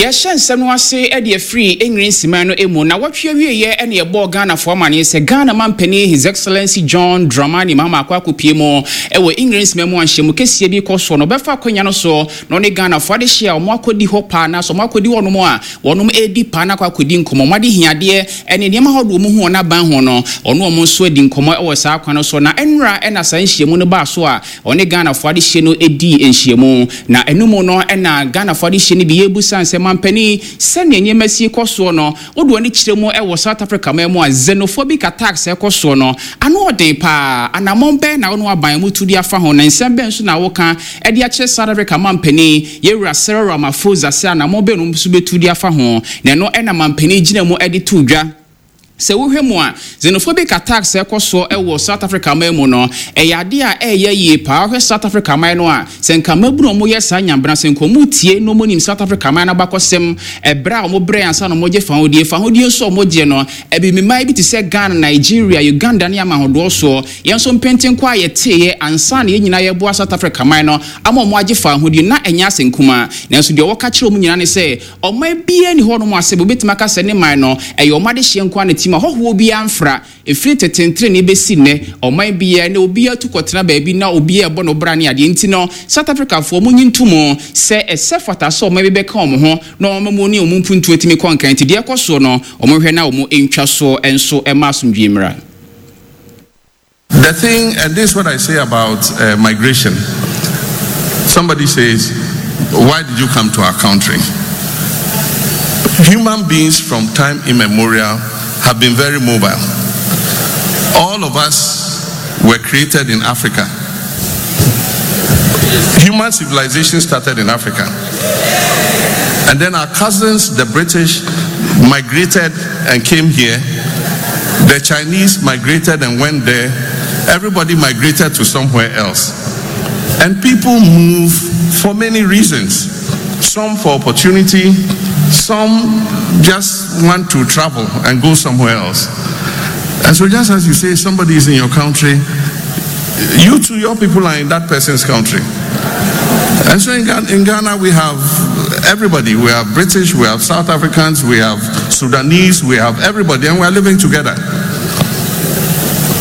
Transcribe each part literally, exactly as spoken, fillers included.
Yɛhyɛ nsɛm no ase de afiri Engiresima no mu na wɔtwe awieɛ ne yɛbɔɔ Ghanafoɔ amanneɛ sɛ Ghana mampanin, His Excellency John Dramani Mahama, akɔ akɔpie mu ɛwɔ Engiresima mu anhyɛmu kɛseɛ bi kɔ soɔ no, ɔbɛfa akonnwa no so na ɔne Ghanafoɔ ade hyɛ a ɔmo akɔdi hɔ paa na so ɔmo akɔdi hɔ nom a wɔnom ɛredi paa na akɔ akɔdi nkɔmmɔ. Ɔmo ade hiadeɛ ne nneɛma ahodoɔ mu hu wɔn aban ho no, ɔno ɔmo nso adi nkɔmmɔ ɛwɔ saa kwan no so. Na ɛnora ɛna saa nhyiamu no baa so a ɔne Ghanafoɔ ade hyɛ no ɛdi nhyiamu. Na ɛno no ɛna Ghanafoɔ ade hyɛ no bi yɛbusa nsɛm mampanin sɛnea nneɛma si kɔ soɔ no, wode wɔne kyerɛ mu ɛwɔ South Africa man mu a xenophobic attacks ɛkɔ soɔ no ano ɔden paa, anammɔn bɛn na wɔn aban mu tu de afa ho, na nsɛm bɛn nso na wɔka ɛde akyerɛ South Africa mampanin yɛwura Cyril Ramaphosa sɛ anammɔn bɛn no nso bɛtu de afa ho? Na ɛno ɛna mampanin gyina mu ɛde to dwa sɛ wohwɛ mu a, xenophobic attacks ɛkɔ soɔ ɛwɔ South Africa man mu no, ɛyɛ adeɛ a ɛyɛ yie paa. Wohwɛ South Africa man no a, sɛ nka mmabunu a wɔyɛ saa nyambena, sɛ nka ɔmo tie na ɔmo nim South Africa man no abakɔsɛm, ɛberɛ a ɔmo brɛ ansa na ɔmo gye fahodie, fahodie nso a ɔmo gye no, ɛbibiman bi te sɛ Ghana, Nigeria, Uganda ne ama ahodoɔ soɔ, yɛn nso mpɛnten a yɛteeɛ ansa na yɛn nyinaa yɛboa South Africa man no ama ɔmo agye fahodie na ɛnyɛ asɛ nkumaa. Nanso deɛ ɔwɔka kyerɛ ɔmo nyinaa ne sɛ ɔman biara ni hɔnom asɛ obɛtumi aka sɛ ne man no ɛyɛ ɔmo adehyeɛ nko ara ne tim a hɔhoɔ biara mfra. Ɛfiri tetentene ne bɛsi nnɛ, ɔman biara na obiara tu kɔtena baabi na obiara ɛbɔ no bra ne adeɛ. Nti no South Africafoɔ mo nyi nto mu sɛ ɛsɛ fata sɛ ɔman bi bɛka ɔmo ho na ɔmo mu ne ɔmo mpuntuo tumi kɔ nkan. Nti deɛ ɛkɔ soɔ no, ɔmo hwɛ na ɔmo ntwa soɔ nso ɛma asomdwie mmra. The thing, and this is what I say about uh, migration. Somebody says, "Why did you come to our country?" Human beings from time immemorial have been very mobile. All of us were created in Africa. Human civilization started in Africa. And then our cousins, the British, migrated and came here. The Chinese migrated and went there. Everybody migrated to somewhere else. And people move for many reasons. Some for opportunity, some just want to travel and go somewhere else. And so, just as you say somebody is in your country, you too, your people are in that person's country. And so in Ghana, in Ghana, we have everybody. We have British, we have South Africans, we have Sudanese, we have everybody, and we are living together.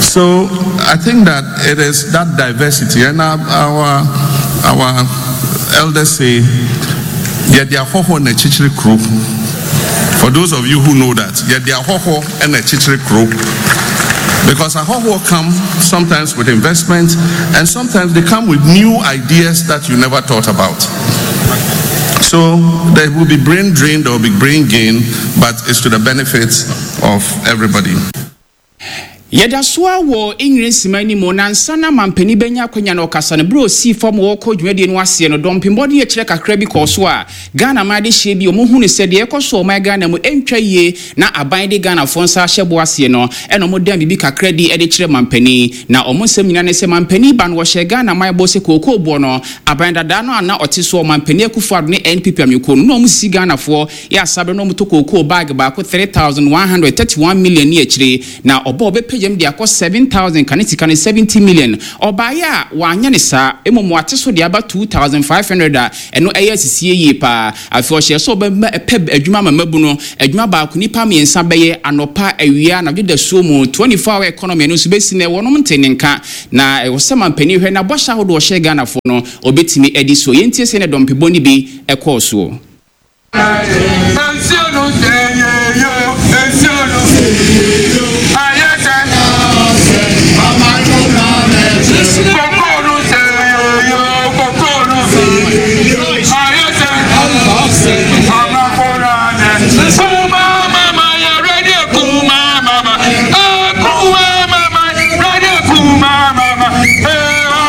So I think that it is that diversity, and our our, our elders say, "Yɛde ahɔhoɔ na ɛkyekyere kuro." For those of you who know that, yɛde ahɔhoɔ na ɛkyekyere kuro. Because ahɔhoɔ come sometimes with investment, and sometimes they come with new ideas that you never thought about. So there will be brain drain, there will be brain gain, but it's to the benefit of everybody. Yɛda so a wɔ Engiresima anim na nsa na mampanin bɛnya akwanya na ɔkasa no, berɛ osii fam wɔkɔ dwumadie no aseɛ no, dɔmpembɔde akyerɛ kakra bi kɔɔ so a Ghana man de hyɛ bi ɔmo hu ne sɛ deɛ ɛkɔ so ɔman Ghana mu ɛntwa yie na aban de Ghanafoɔ nsa ahyɛ bo aseɛ no, ɛna ɔmo dan biribi kakra di ɛde kyerɛ mampanin. Na ɔmo nsɛm nyinaa ne sɛ mampanin ba no, wɔhyɛ Ghana man bɔ sɛ kookoo boɔ no, aban dadaa no a na ɔte so, ɔmampanin Akufo Addo ne N P P amekuo no, na ɔmo sisi Ghanafoɔ yɛ asabe na ɔmo to kookoo bag baako three thousand one hundred thirty-one million ne akyire, na ɔbɔ ɔbɛpagya mu de akɔ seven thousand kane sika no seventy million. Ɔbaeɛ a wanyɛ ne saa, mmom wate so de aba two thousand five hundred a ɛno ɛyɛ asisie yie paa. Afei ɔhyɛ sɛ ɔbɛma ɛpɛ adwuma ama mabu no, adwuma baako nipa mmiɛnsa bɛyɛ anɔpa, awia, anadwo da suo mu, twenty-four hour economy. Ɛno nso bɛsi na wɔnom nte ne nka na ɛwɔ sɛ mampanin hwɛ na bɔhyɛ ahodoɔ ɔhyɛ Ghanafoɔ no ɔbɛtumi adi so. Yɛntie sɛ ne dɔmpebɔ no bi ɛkɔɔ soɔ. Nsuo no sɛ yeyo, nsuo no ayɛ sɛ koko no sɛ yeyo, koko no ayɛ sɛ amakorane kuma mama yɛ ready, kuma mama, kuma mama ready, kuma mama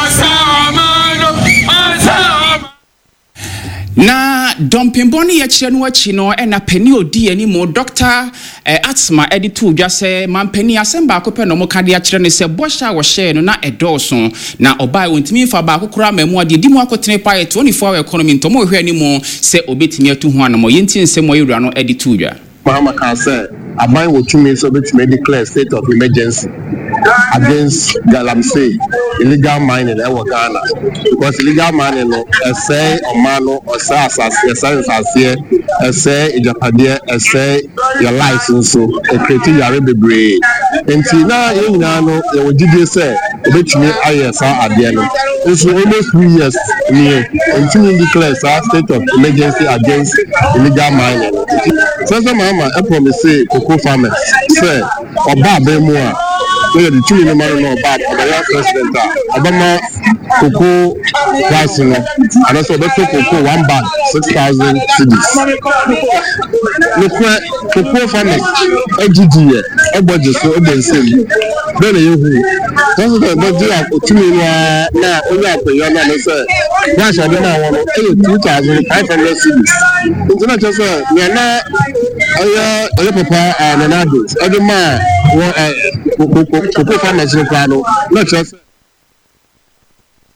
asa amano asa. Na dɔmpembɔ no yɛkyerɛ no akyi no, ɛna panin odi anim, Doctor eh, Atsma, ɛde to dwa sɛ mampanin asɛm baako pɛ na ɔmo ka de akyerɛ no sɛ bɔhyɛ a wɔhyɛɛ no na ɛdɔɔso na ɔbaa wɔntumi mfa baako koraa ma mu adeɛ di mu akotene paa yɛ twenty-four hour economy. Nti ɔmo hwɛ anim sɛ obɛtumi atu ho anamɔ. Yɛntie nsɛm a yɛwura no ɛde to dwa. Mahama kaa sɛ Aban wɔ tumi sɛ obetumi declare state of emergency against galamsey, illegal mining ɛwɔ Ghana, because illegal mining no ɛsɛe ɔman no, ɔsɛe asase, ɛsɛe nsaseɛ, ɛsɛe agyapadeɛ, ɛsɛe yɛ lives nso, ɛcreate yare bebree. Nti na yɛn nyinaa no yɛwɔ gyidie sɛ obetumi ayɛ saa adeɛ no. Nso almost two years nie, ntumi declare saa state of emergency against illegal mining no. Sɛ sɛ Mahama ɛpromise cocoa farmers sɛ ɔba abɛn mu a na yɛde tumi no ma no na ɔba ɔbɛyɛ president a, ɔbɛma cocoa price no anaasɛ ɔbɛtɔ cocoa one bag six thousand cedis. Nokorɛ, cocoa farmers agyigyi yɛ ɛbɔ gye so ɛbɔ nsam bɛɛ na yɛhu president bɛgye tumi no ara na onye akonnwa no ano sɛ price a ɔde maa wɔn no ɛyɛ two thousand five hundred cedis. Nti na kyerɛ sɛ nea na ɛyɛ ɛyɛ papa a Nana Addo ɛde maa wɔ ɛ cocoa farmers no koraa no na kyerɛ sɛ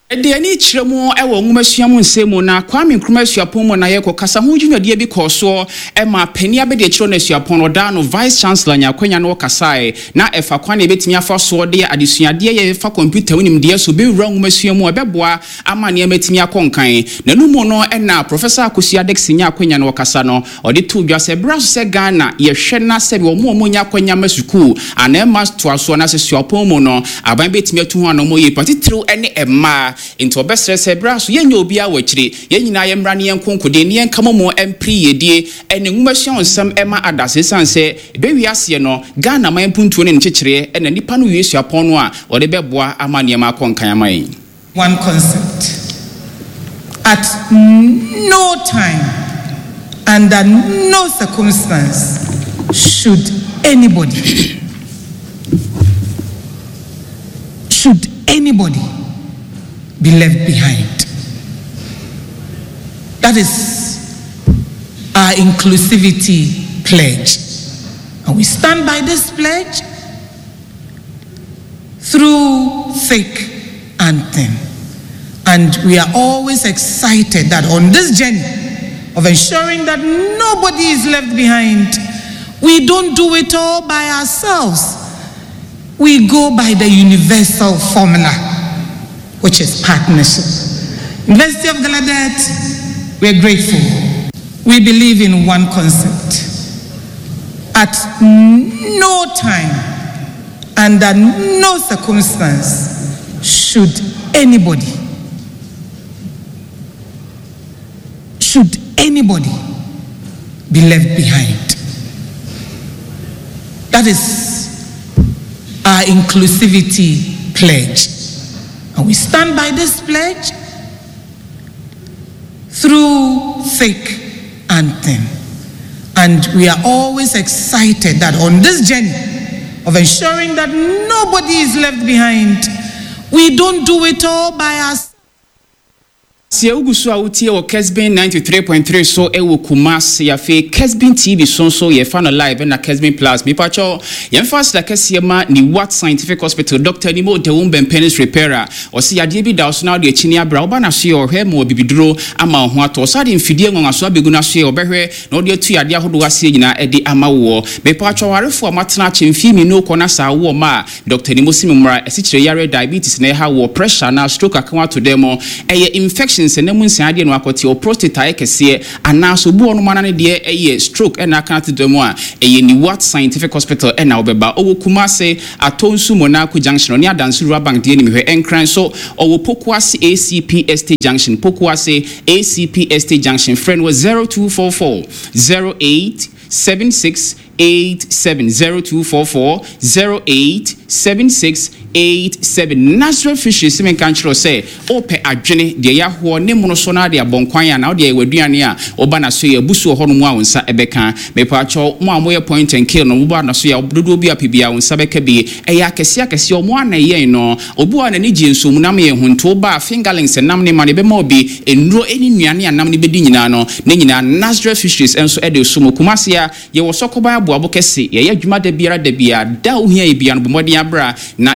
Ɛde ani kyerɛ mu wɔ nwomasua mu nsɛm mu na Kwame Nkrumah Asuapɔn mu na yɛkɔ kasa ho dwumadie bi kɔɔ soɔ ɛma panin abɛde akyerɛ no asuapɔn no ɔdaa no vice chancellor nya akwanya no wɔkasae na ɛfa kwan na yɛbɛtumi afa soɔ de adesuadeɛ yɛfa kɔmputa mu nimdeɛ so bɛwura nwomasua mu a ɛbɛboa ama nneɛma atumi akɔ nkan. Na no mu no ɛna Professor Akosua Dickson nya akwanya no wɔkasa no, ɔde to dwa sɛ berɛ so sɛ Ghana yɛhwɛ na sɛbi wɔn a wɔnya akwanya ma sukuu anaa ɛma toasoɔ na sɛ suapɔn mu no, aban bɛtumi atu ho anɔmmɔ yie patitiriw ne mmaa. Nti ɔbɛsrɛ sɛ berɛ so yɛnyɛ obiara wɔ akyire, yɛn nyinaa yɛmmra ne yɛn nkonkoden ne yɛnka mo mu mpere yiedie ɛne nwomasua nsɛm ɛma adase, ɛsiane sɛ ɛbɛwie aseɛ no Ghana man mpuntuo ne nkyekyereɛ ɛna nnipa no wie suapɔn no a wɔde bɛboa ama nneɛma akɔ nkan ama yɛn. One concept. At no time, under no circumstance, should anybody, should anybody be left behind. That is our inclusivity pledge. And we stand by this pledge through thick and thin. And we are always excited that on this journey of ensuring that nobody is left behind, we don't do it all by ourselves. We go by the universal formula, which is partnership. University of Gallaudet, we are grateful. We believe in one concept. At no time, under no circumstance, should anybody, should anybody be left behind. That is our inclusivity pledge. And we stand by this pledge through thick and thin. And we are always excited that on this journey of ensuring that nobody is left behind, we don't do it all by ourselves. Sɛ wogu so a wotie wɔ Kesbin ninety-three point three so ɛwɔ Kumase, afei Kesbin T V so nso yɛfa no live ɛna Kesbin Plus. Mepakyɛw, yɛmfa aseda kɛseɛ ma ne Wat Scientific Hospital, Doctor Nimo Dawum Bɛmpenis Repairer. Ɔse yadeɛ bi da wo so na wode akyini abrɛ woba no so yɛ ɔhwɛ ma wɔ ama wo ho atɔ. Ɔsa de mfidie nwanwaso abɛgu no so yɛ ɔbɛhwɛ na ɔde atu yadeɛ ahodoɔ aseɛ nyinaa ɛde ama woɔ. Mepakyɛw, awarefoɔ a moatena akyɛ mfie mmienu kɔ na saa woɔ ma a Doctor Nimo si me mmara ɛsikyerɛ yare, diabetes na ɛha wɔ, pressure na stroke aka ato dɛm mu, ɛyɛ infection sɛ nam nsia adeɛ no akɔte o, prostate ayɛ kɛseɛ anaasɛ obi wɔ no mana no deɛ ɛyɛ stroke ɛna aka ato dɛm a, ɛyɛ Niwat Scientific Hospital ɛna wobɛba. Ɔwɔ Kumase, Atonsu Monaco Junction, ɔne Adanso Rural Bank deɛ nim hwɛ. Ɛnkran so ɔwɔ Pokuase A C P Estate Junction, Pokuase A C P Estate Junction. Frɛ no wɔ zero two four four zero eight seven six eight seven, zero two four four zero eight seven six eight seven. Nazareth Fisheries sɛ menka nkyerɛ sɛ wopɛ adwene deɛ yɛahoɔ ne mono so no ade abɔ nkwan a na wode ayɛ w'aduane a woba na so yɛ abu so wɔ hɔnom a wo nsa ɛbɛka. Mepaakyɛw, mo a moyɛ point and kill no, woba na so yɛ dodoɔ bi apɛ bi a wo nsa bɛka bi. Ɛyɛ akɛseɛ akɛseɛ ɔmo ana yɛn no. Obi a n'ani gye nsuo mu nam yɛ hunto ba fingerlings nam ne ma no ɛbɛma obi nnuro ne nnuane a nam no bɛdi nyinaa no ne nyinaa. Nazareth Fisheries nso ɛde so mu Kumase a yɛwɔ Sɔkɔban Aboabo kɛse. Yɛyɛ adwuma da biara da biara da a wohia yɛ bia no, bɔ mmɔden abra na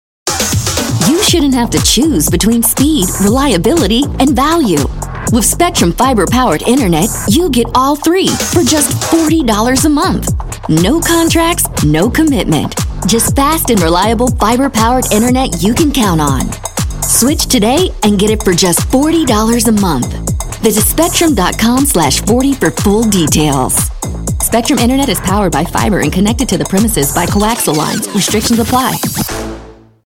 You shouldn't have to choose between speed, reliability, and value. With Spectrum Fiber powered internet, you get all three for just forty dollars a month. No contracts, no commitment. Just fast and reliable fiber powered internet you can count on. Switch today and get it for just forty dollars a month. Visit spectrum dot com slash forty for full details. Spectrum Internet is powered by fiber and connected to the premises by coaxial lines. Restrictions apply.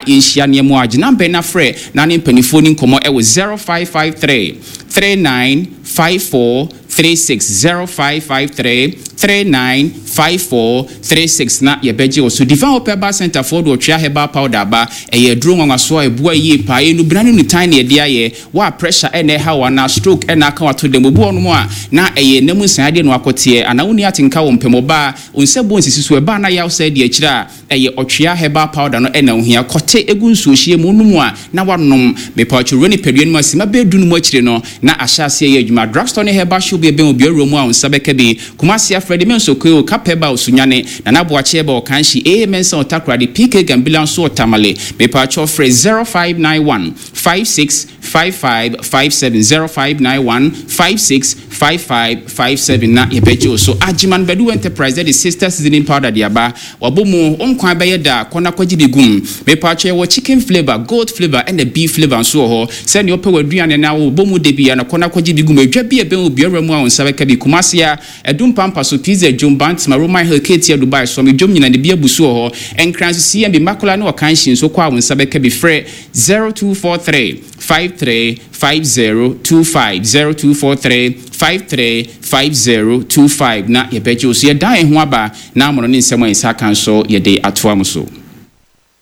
Yɛnhyia nneɛma a gyina mbɛn na frɛ na ne mpanimfoɔ ni nkɔmmɔ ɛwɔ zero five five three three nine five four three six, zero five five three three nine five four three six, na yɛbɛgye wɔ so. Divine Hope Herbal Center foɔ de ɔtwea herbal powder aba. Ɛyɛ aduro nwanwaso a ɛboa yie paa. Ɛnu bena ne nutan ne yɛde ayɛ wa pressure ɛna ɛha wɔ anaa stroke ɛna aka wato dɛm obi wɔ nom a na ɛyɛ nam nsan adeɛ na wakɔteɛ anaa wonni atenka wɔ mpɛmɔbaa onsɛ bɔ nsisi so ɛbaa na yaw sɛ deɛ akyire a ɛyɛ ɔtwea herbal powder no ɛna ohia. Kɔte egu nsuohyie mu nom a na wanom mepawatwo wura nipadua no mu asima bɛɛ du no mu akyire no na ahyɛ aseɛ yɛ adwuma. Drugstore ne herbal shop bi ɛbɛn obi awura mu a wo nsa bɛka bi. Kumasi afrɛde me nso koe kapɛba Osunyane, Nana Aboakye ɛbɛ Ɔkanhyi aa Mɛnsa Ɔtakoradi, P K Gambila nso Ɔtamale. Mepawatwo frɛ zero five nine one five six five five five seven, zero five nine one five six five five five seven, na yɛbɛgye wo so. Agyeman Badu Enterprise de Sister Seasoning Powder de aba. Wabɔ mu nkwan bɛyɛ da kɔna kɔgye bi gum. Mepatwa yɛwɔ chicken flavour, goat flavour ɛna beef flavour nso wɔ hɔ. Sɛnea wopɛ w'aduane na wobɔ mu de bia na kɔna kɔgye bi gum. Adwa bi a ɛbɛn obiara mu a wo nsa bɛka bi. Kumase a Ɛdum Pampa so, Pizza Dwom, Bantama, Roman Hill, Ketia, Dubai, Sɔmi dwom nyina ne bi abu so wɔ hɔ. Nkran so C M B Makola ne Ɔkanhyi nso kɔ a wo nsa bɛka bi. Frɛ zero two four three five three five zero two five, zero two four three five three five zero two five, na yɛbɛgye wo so. Yɛdan yɛn ho aba na amono ne nsɛm a yɛnsa ka nso yɛde atoa mo so.